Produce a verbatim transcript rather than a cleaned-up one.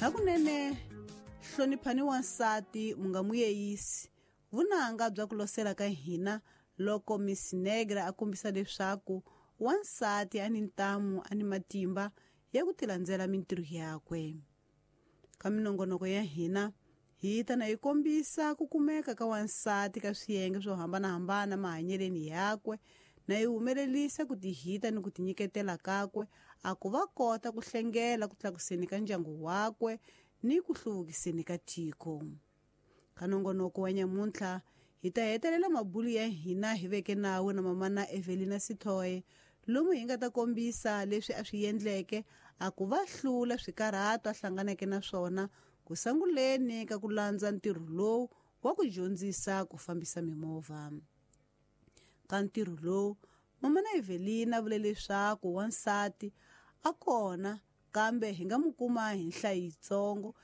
Hakunene hloniphani wansati mu nga muyeyisi vunanga bya ku losela ka hina loko Miss Negra a kombisa leswaku wansati a ni ntamu a ni matimba ya ku tilandzela mintirho yakwe. Ka minongonoko ya hina hi ta na yi kombisa ku kumeka ka wansati ka swiyenge swo hambanahambana mahanyeleni yakwe na yi humelelisa ku tihita ni ku tinyiketela kakwe a ku va kota ku hlengela ku tlakuseni ka ndyangu wakwe ni ku hluvukiseni ka tiko. Ka nongonoko wa nyamuntlha hi ta hetelela mabulu ya hina hi veke nawu na mamana Evelina Sithoye lomu hi nga ta kombisa leswi a swi endleke a ku va hlula swikarhato a hlanganeke na swona ku sanguleni ka ku landza ntirho lowu wa ku dyondzisa ku fambisa mimovha. Ka ntirho lowu mamana Evelina vule leswaku wansati a kona kambe hi nga mu kuma hi nhlayo yitsongo.